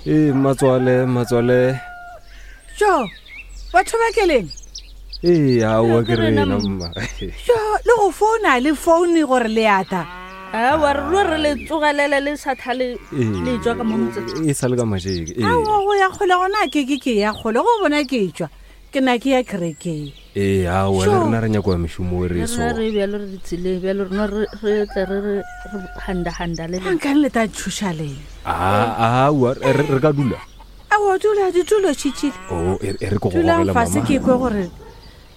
Ee, mmatswale, mmatswale. Jo, batho ba keleng? Ee, aowa ke rena mma. Jo, le go founa le foune gore le ata. Aowa re ro re le tsogelele le sa thale le tswa ka mo motseng. E sa le ka majeke. Ee. Aowa go ya kgole gona ke ke ke ya kgole go bona ke tswa. Ke na ke ya kerekeng. Ee, aowa le rena re nyako ya mešomo e re so. Rena re bjalo re ditseleng bjalo rena re re tle re re re handa handa le. Nkane le ta tšhoša lena. A aowa re ka dula. Aowa dula ditulo tšhitšhile. Oh, e e re ko go Dulang gogela fase mama. ke kwe gore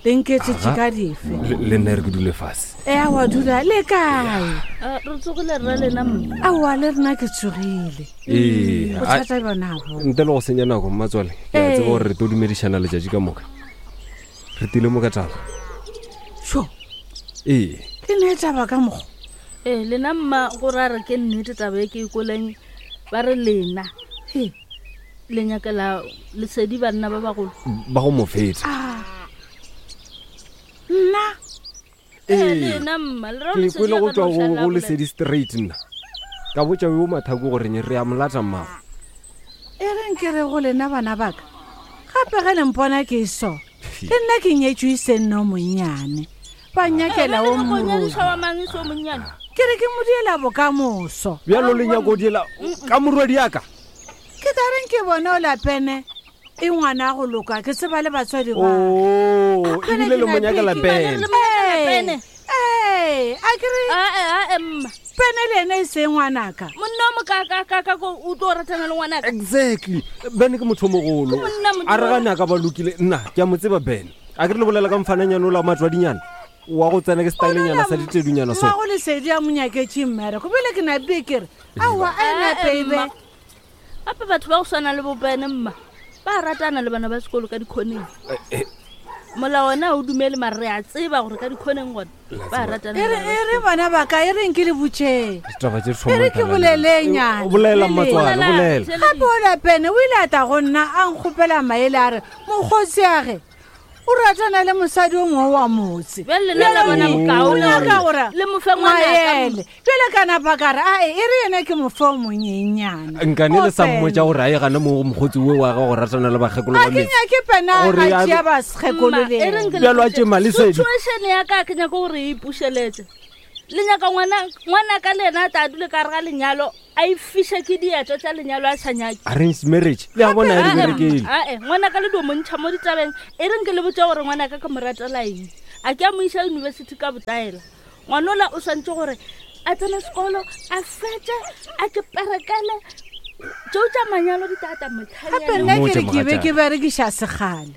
le nketšetše ka dife. Le le nna e re ke dule fase. E aowa dula le kae? Ah, re tsogile rra lena mma. Aowa le rena ke tsogile. Ee, a- Bothata bjona bo. ntle le go senya nako mmatswale ke a Ee. tseba gore re tlo dumedišana letšatši ka moka re tile mo ka taba Sho, ee le ne taba ka mokgwa. Ee, lena mma go ra re ke nnete taba e ke e koleng ba re lena. He. Le nyakela lesedi banna ba bagolo. Ba go mo feta. Ah. Nna. Ee. Lena mma, le ra Ke lesedi kwele a go ka tšwa no go šala go a bolela. lesedi straight nna. Ka botša yo Mathako gore re a mo lata mmago. E reng ke re go lena bana ba ka, gape ge le mpona ke so, le nna ke nyetšwe e se nna o monnyane. Ba nyakela o Bjale go morodi. nyadišwa wa mang e se o monnyane? Ke re ke mo diela bokamoso. Bjalo le nyako diela ka morwedi ya ka? Ke tla reng ke bone o lapene e ngwana go loka ke tseba le batswadi ba. Oh, A kgone ebile ke le mo na nyakela piki. pene. Le mo nyakela pene. Ee, a ke re. Ae, ae, mma. Pene le ene e se ngwanaka. Monna o mokakakaka ko o tlo ratana le ngwanaka. Exactly. Ben ke motho o mogolo. Ke monna Modimo. A re gane a ka ba lokile. Nna ke a mo tseba Ben. A ke re le bolela ka mfananyana ola wa matswadinyana. Wa go tsena ke stylenyana sa ditedunyana so. Mmago lesedi a mo nyaketše mmereko. Bjale ke napile ke re, aowa, a e nape e be. Mma. Gape batho ba go swana le bopene mma ba ratana le bana ba sekolo ka dikhoneng. Eh, eh. Molao ona o dumele mare re a tseba gore ka dikhoneng gona ba ratana. E re e re bana ba ka e reng ke le botšeng. Ditaba tše di E re ke bolelenyana. Eh, Bolela mmatswale, bolela. Gape ola pene o ile a tla go nna a nkgopela maele a re mokgotsi a ge o ratana le mosadi o mongwe wa motse. Bjale lena la bona bokaone O nyaka gore gore le mo fe ngwanaka. maele. Bjale ka napa ka re ae e re yena ke mo fe o monyenyana. Nkane le sa O pene. mmotša gore a ye gana mo go mokgotsi o wa gagwe go ratana le bakgekolo A ba ke metse. nyake pena Gore a a- tšea bakgekolo Mma, le e reng yena. ke le Bjalo a botše, tše Malesedi. Situation ya ka ke nyaka gore e ipušeletse. Le nyaka ngwana ngwanaka le yena a tla dule ka gare ga lenyalo a ifiše ke dietso tša lenyalo a sa nyake. Arranged marriage le a bona ya di berekele. Ae, ngwanaka le dio mo ntšha mo ditabeng. E reng ke le botše gore ngwanaka ke mo ratela eng. A ke a mo iša university ka botaela. Ngwanola o swantše gore a tsene sekolo, a fetše, a ke perekele. Tšeo tša manyalo di tla tla Gape motlhanyana. nna ke re Mmotše ke be mogatšaka. ke berekiša sekgale.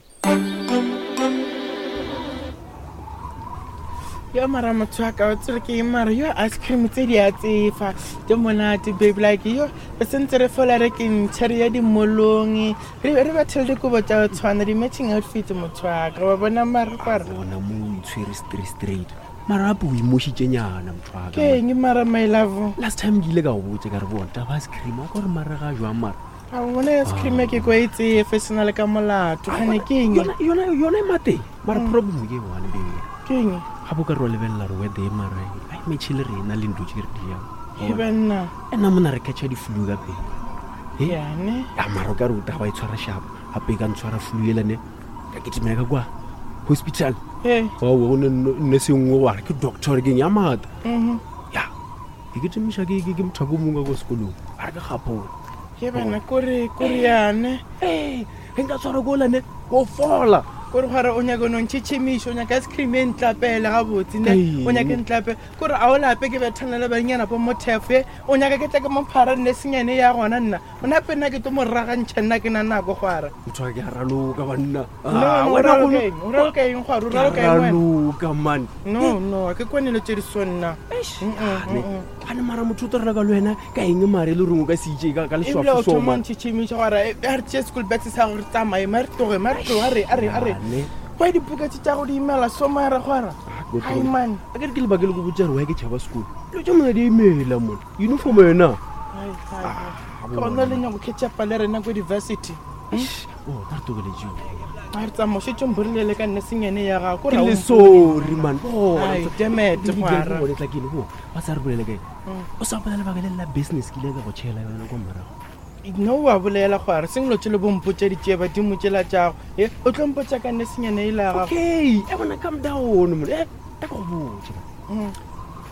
Yo mara motho wa ka o tsere ke eng mara yo ice cream tse di a tsefa tse monate babe like yo re sentse re fola re ke ntšha re ya dimolong re re bathele dikobo tša go tshwana di-matching outfits motho wa ka wa bona mara kware bona mo o itshwere straight straight mara gape o imošitšenyana motho wa ka ke eng mara my love last time ke ile ka go botse ka re bona taba ice cream wa ka gore mara ga jwang mara A bona ice cream ya ke kwa e tsefe se na le ka molato gane ke eng Yona- yona yona e mateng mara problem ke one baby ke eng gape o ka re wa lebelela re weather e mara a e metšhe le rena le ntlo tše re di jang e banna ena mona re catcha di-flu ka pele Eh? yane ya mara o ka re o taba e tshwara shapo gape e ka ntshwara flu elane ka ketemela ka kwa hospital ee ao go ne nne sengwe wa re ke doctor ke eng ya maata mhm. ya ke ketemiša ke ke- ke mothako o mongwe ka ko sekolong a re ke gapola ke bana kore kore yane ee ge nka tshwara ko lane ko fola kore gore o nyaka no ntšhitšhimiša o nyaka ice cream e ntlapele gabotse ne Ee. o nyake ntlape kore a o lape ke bethana le bannyana bo mothefo o nyaka ke tla ke mophara nne senyane ya gona nna o nape nna ke tlo mo ragantšha nna ke na nako gwara motho wa ke a raloka banna No, Ah, no, o wena raloka golo- eng? O raloka eng gwara? O Ke raloka eng wena? raloka man no no a ke kwane le tše di so nna Ane, ane mara motho o tlo raloka le wena ka eng mare e le goreng o ka se itse ka ebile o leswafo so thoma man ntšhitšhimiša gore a re tšee school bags sa gore tsamaye ma re tloge ma re tloge a re a re a re Ane. kwa dibuka tše tša go di imela so mara gwara ai man a ke re ke lebaka le ko botsa gore wa ke tšhaba sekolo dilo tša mona di imela mona uniform yona Ai, ai, ai. ke gona le nyako catch-upa le rena ko di-varsity o ta re tokeletseo a re tsamao šetse mborilele ka nne senyane ya gago ke le sorry man Ai, damn it, gwara. bone tla kene bo ba sa re bolele kae o sa bolela lebaka le la business ke ile ka go tšhela yona kwa morago No wa bolela gore seng lo tšele bompotša ditšee badimo tšela tšago e o tlo mpotša ka nesenyane e la gago. Okay, e bona calm down mone. Eh, ta go botša.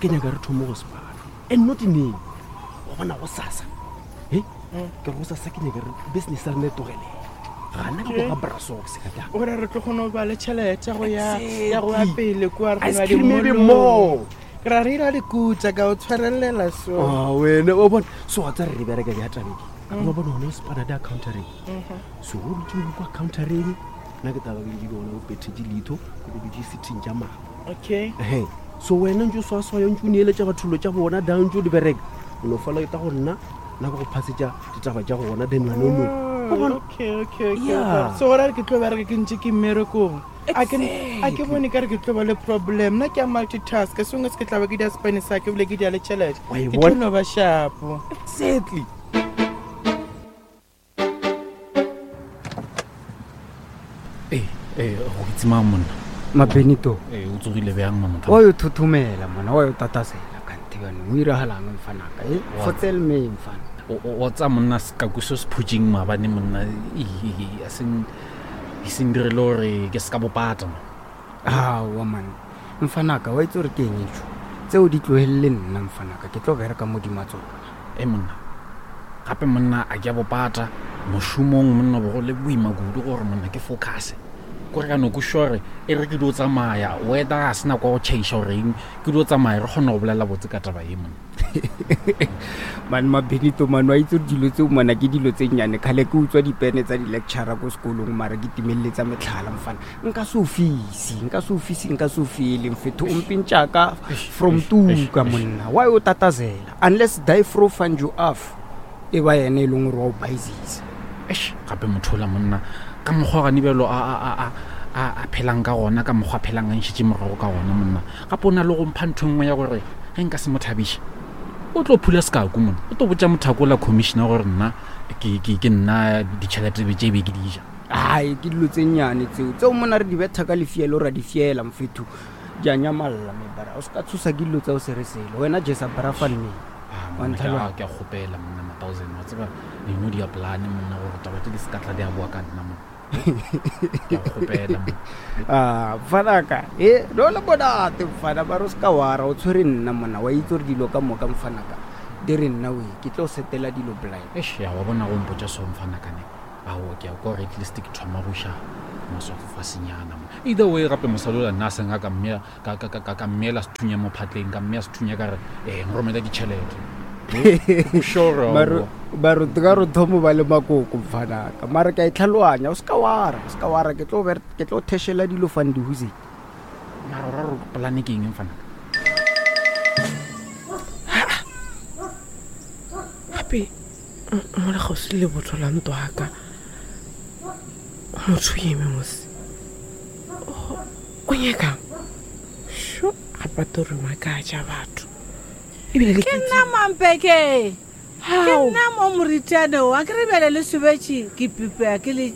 Ke nyaka re thome go sepana. And not neng. Wa bona go sasa. Eh? Ke go sasa ke nyaka re business ya rena e togele. Gana ke go ga brasox ka tla. Gore re tlo kgona go ba le tšhelete go ya ya go ya pele kua re Ice kgona cream e be dimolong. more. Ke ra re ira dikutša ka o tshwarelela so. Ah, wena wa bona so wa tsare re bereka bja tabeng a ba bona gona o sepana di accountereng so o dutse o kwa countereng nna ke taba ke dutse ke gona o pethetše leitho ke go dutse sitting tša mama Okay. ehe so wena ntse o swaswaya ntse o neeletša bathollo tša bona da ntse o di bereka o no fala eta go nna nna ke go phasetša ditaba tša gona then wena o no o bona Okay, okay, okay. Yeah. So gore ke tlo bereka ke ntse ke mmerekong. A ke a ke bone ka re ke tlo ba le problem. Nna ke a multitask. Sengwe se ke tla ba ke dia spane sa ke bile ke dia le tšhelete. Wa e Ke tlo bona? no ba shapo. Exactly. Ee, ee, go itse mang monna? Mabenito. Ee, o tsogile bjang mamotho? Wa yo thothomela mona, wa yo tatasela kante bjanong o iragalang mfanaka e Wa- fotsel me mfana. O tsa monna sekaku se se phutšeng maabane monna a seng e seng dirile gore ke se ka bopata man. Aowa man, mfanaka wa itse gore ke eng etsho tseo di tlogelele nna mfanaka ke tlo bereka modima tsona. E monna, gape monna a ke a bopata mošomong monna bogo le boima kudu gore monna ke focuse. Kore ka no kwešiša gore e re ke dio tsamaya wether ga se nako ya go tšhaiša gore eng ke dio tsamaya re kgone go bolela botse ka taba ye monna. Man Mabenito man wa itse gore dilo tseo mana ke dilo tse nnyane kgale ke utswa dipene tsa di-lectura ko sekolong mara ke timelletsa metlhala mfana nka se ofisi nka se ofisi nka se ofele mfetho o mpentšaka from tuka monna why o tatazela unless die fro find you off e ba yena e leng gore wa o baisisa. Eish, gape motho ola monna ka mokgwa gane bjalo a phelang ka gona ka mokgwa a phelang a nšitše morago ka gona monna gape o na le go mpha ntho e nngwe ya gore ge nka se mo thabiše o tlo phula sekaku monna o tlo botša mothako la commissioner gore nna ke nna ditšhelete be tše be ke di ja. Ai ke dilo tse nnyane tseo tseo mona re di betha ka lefielo ra di fiela mfetho di a nyamalla mebara o se ka tshosa ke dilo tsa o se re selo wena jesa brafan me. Ah, Wa monna, ntlhaloga? ke a kgopela monna ma-thousand wa tseba eno di a polane monna gore taba tse di se ka tla di a boa ka nna monna. Ke a kgopela monna. Ah, mfanaka e no le monate mfana mare o se ka wara o tshwere nna monna wa itse gore dilo ka moka mfanaka di re nna oe ke tlo setela dilo blind. Eish, ya wa bona go mpotša so mfanaka ne ao ke a kwa gore at least ke thoma go iša maswafo fasenyana mo. Either way gape mosadi ola nna a seng a ka mmea ka mmeela sethunya mo phatleng ka mmea sethunya ka re nromela ditšhelete. Sure, Mare aowa. mare ka re thomo ba le makoko mfanaka mare ke a e tlhaloganya o se ka wara o se ka wara ke tlo ke tlo thešela dilo fandihuse. Mara o ra gore polane ke eng mfanaka? Gape mola kgauswi le lebotho la ntlo aka motho o eme mose o nyakang sho gape a to re makatša batho ebile le Ke nna mampeke. Ke nna mo moritane o a ke re bjale le sobetše ke pipea ke le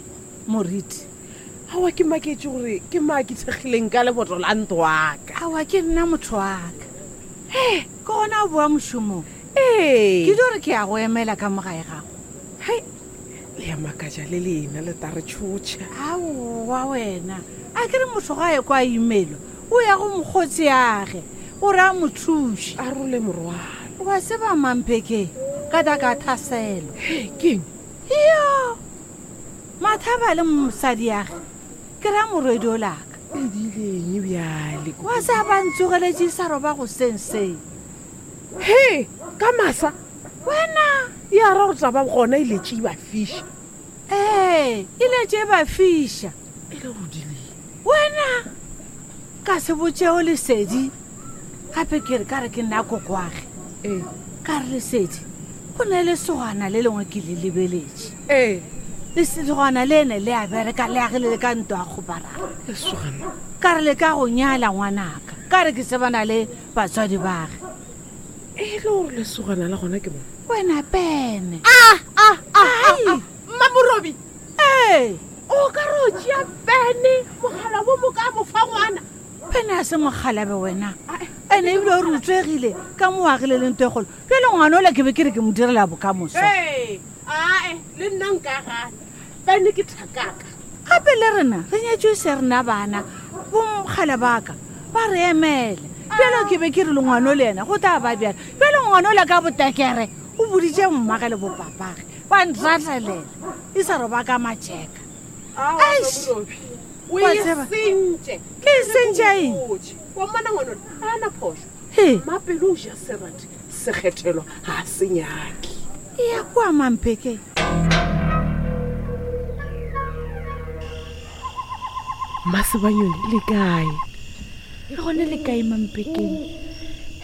moriti. Aowa ke maketše gore ke maa ke thekgileng ka leboto la ntlo aka. Aowa ke nna motho wa ka. Ke gona o boa mošomong. Ee. Ke dio re ke ya go emela ka mo gae gago. Hai, le ya makatša le lena le tla re tšhotšha. Aowa wena a ke re motho ga ye kwa imelwa o ya go mokgotsi age gore a mo thuše. A role morwalo. Wa tseba mampeke ka ta ka thaselo. Hei, keng? Yo mathaba le mosadi age ke ra morwedi o laka. E dileng bjale? Wa sa ba ntsogeletše sa roba go senseng. He, ka masa? Wena. Ya ra gore taba gona e letše e ba fiša. Ee, e letše e ba fiša. E le go dileng? Wena ka se botšeo lesedi gape ke re ka re ke nna kokoage. Ee. Ka re lesedi go na le lesogana le lengwe ke le lebeletše. Ee. Lesogana le ene le a bereka le agile le ka ntlo ya kgoparara. Lesogana? Ka re le ka go nyala ngwanaka ka re ke tsebana le batswadi bage. E le gore lesogana la gona ke bona? Wena pene. Ah, ah, ah, ah, ah. Mmamorobi. Ee. O ka re o tšea pene mogala bo mo ka mo fa ngwana. Pene a se mogalabe wena. Ene ebile o re utswegile ka mo agile le ntho e kgolo. Bjale ngwana ola ke be ke re ke mo direla bokamoso. Ee, ae, nna nka gana bene ke thakaka gape le rena re nyetšwe se rena bana bomokgale baka ba re emele bjalo ke be ke re le ngwano le yena go tla ba bjalo bjalo ngwano le ka botekere o boditše mmage le bopapage ba ntratelela e sa roba ka matšeka o Wa e tseba. sentše Ke e sentše eng? wa mmana ngwanone a na phošo He. mapele o ja serati sekgethelo ga a se nyake e ya kua mampeke masebanyone le kae le gone le kae mampekeng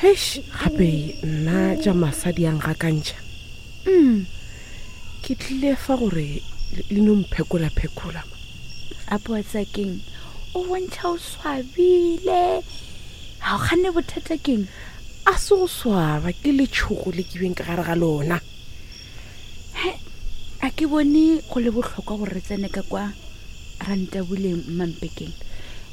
hesh gape nna tša masadi yang gakantšha Ke tlile fa gore le no mphekola-phekola. Apoa Tsakeng o bontšha o swabile. Ga o kganne bothata keng? A se go swaba ke letšhogo le ke beng ka gare ga lona. He, a ke bone go le bohlokwa gore re tsene ka kwa rantabuleng mmampekeng.